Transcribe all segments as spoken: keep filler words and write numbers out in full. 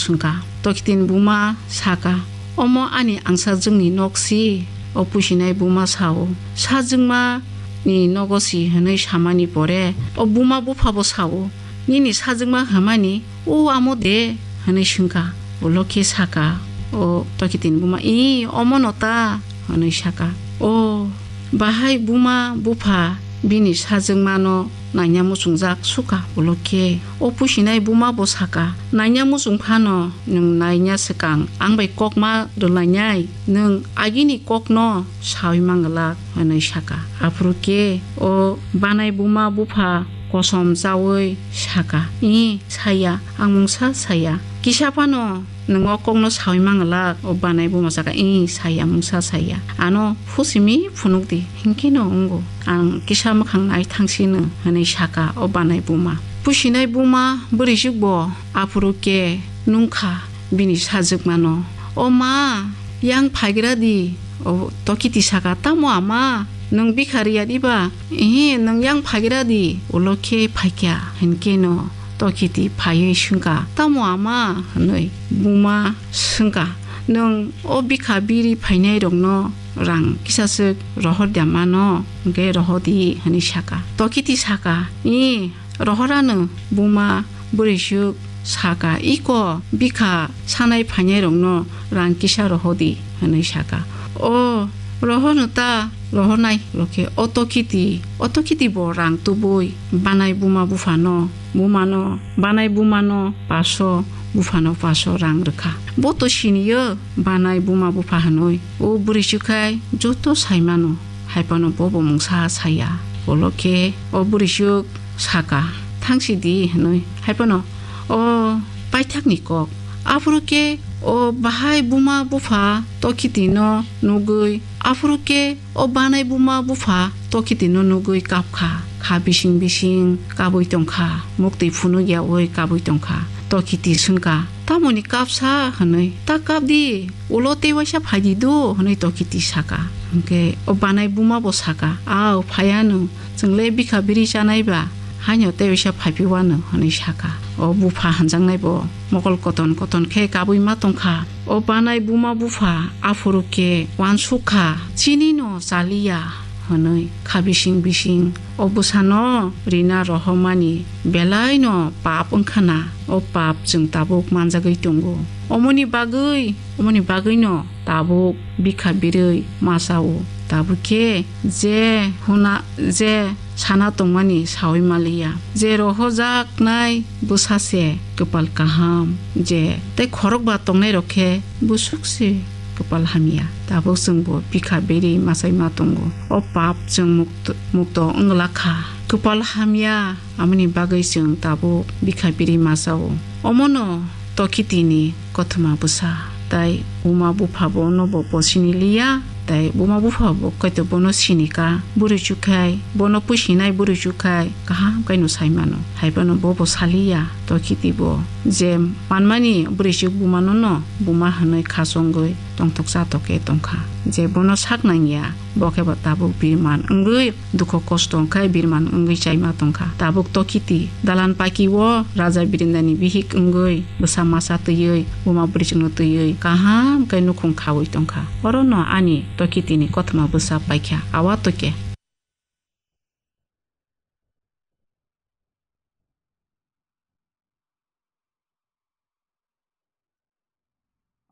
swngkha. Tokitini buma saka, "Omo ani angsajwkni nok si?" O pusinai buma sao, "Sajwkmani nogo si," hwnwi samani pore o buma buphabo sao, "Nini sajwkma hwnmani o amo de?" hwnwi swngkha. Ulo khe saka o tokitini buma, "Ih, omono ta," hwnwi saka. O bahai buma bupha bini sajwkmano naina muchungjak sukha. Ulo khe o pusinai buma bo saka, "Naina muchung phano nwng naina swkang ang bai kok ma rwlainai, nwng agini kokno saui manglak," hwnwi saka. Aphuru khe o banai buma bupha kosom chaui saka, "Ih, saya, ang mungsa saya. Kisa phano nwng o kokno saui manglak." O banai buma saka, "Ih, saya, mungsa saya. Ano phusimi phunuk di, hinkhe no wngo. Ang kisa mwkhang nai thang sino," hwnwi saka o banai buma. Pusinai buma bwrwi jwk bo aphuru khe nungkha bini sajwkmano, "O ma, yang phaigra di." O tokiti saka, "Tamo ama, nwng bikha rwya diba? Ehe, nwng yang phaigra di." Ulo khe phaikha, hinkhe no tokiti phaiwi swngkha, "Tamo ama?" hwnwi. Buma swngkha, "Nwng o bikha biri phainairokno rang kisaswk rohor da mano, hwnkhe rohodi," hwnwi saka. Tokiti saka, "Ih, rohorano." Buma bwrwisuk saka, "Iko bikha sanai phainairokno rang kisa rohodi," hwnwi saka. "O rohorno ta rohornai," lokhe o tokiti, o tokiti bo rang tubui banai buma buphano, bumano, banai bumano paso, buphano paso rang rwkha. Bo to siniyo banai buma bupha hwnwi. O bwrwi chukhai joto saimano, hai phano bo bo mungsa saya. Ulo khe o bwrwi chuk saka, "Thang si di," hwnwi. Hai phano o paithakni kok. Aphuru khe o bahai buma bupha tokiti no nugwi, aphuru khe o banai buma bupha tokiti no nugwi kapkha. Kha bising bising kabwi tongkha, muktwi phunuk yaui kabwi tongkha. Tokiti swngkha, "Tamoni kapsa?" hwnwi. "Ta kap di, ulo tei waisa phai di do," hwnwi tokiti saka. Hwnkhe o banai buma bo saka, "Ao, phaiya no, chwng le bikha biri chanai ba, haino tei waisa phai phi wano," hwnwi saka. O bupha hanjaknai bo mokol koton koton khe kabwi ma tongkha. O banai buma bupha aphuru khe uansuk kha, "Chini no chaliya," hwnwi kha bising bising. O bwsano rina rohormani belai no pap wngkha na, o pap chwng tabuk manjagwi tongo. Omoni bagwi, omoni bagwi no tabuk bikha birwi masa o. Tabuk khe je huna, je sana tongmani saui maliya. Je rohojaknai bwsa se kwpal kaham, je tei khorokba tongnai rok khe bwswk se kwpal hamya. Tabuk chwng bo bikha biri masai ma tongo. O pap chwng mukto, mukto wngla kha. Kwpal hamya, amoni bagwi chwng tabuk bikha biri masa o. Omono tokiti ni kothoma bwsa. Tai buma bupha bono bo posini liya, tai buma bupha bo kaito bono sinika, bwrwi chukhai, bono pusinai bwrwi chukhai, kaham kaino sai mano. Hai phano bo bo saliya, tokiti bo je manmani bwrwi chuk buma no no, buma hwnwi khasongwi tongthok chatok khe tongkha. Je bono sak nangya, bo khe bo tabuk birman wngwi dukho kosto wngkhe birman wngwi chaima tongkha. Tabuk tokiti dalan paki o raja birindani bihik wngwi bwsa masa twiwi buma bwrwichwkno twiwi kaham khe nukhung khaui tongkha. Orono ani tokitini kothoma bwsa paikha. Awa tokhe.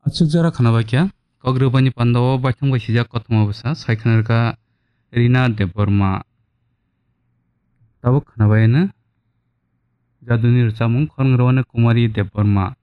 Achuk jora khwnabaikha, kok rwbaini pandao baithang bai sijak kothoma bwsa, sai khwnarwkha Rina Debbarma. Tabuk khwnabaiano jaduni rwchapmung khorang rwani Kumari Debbarma.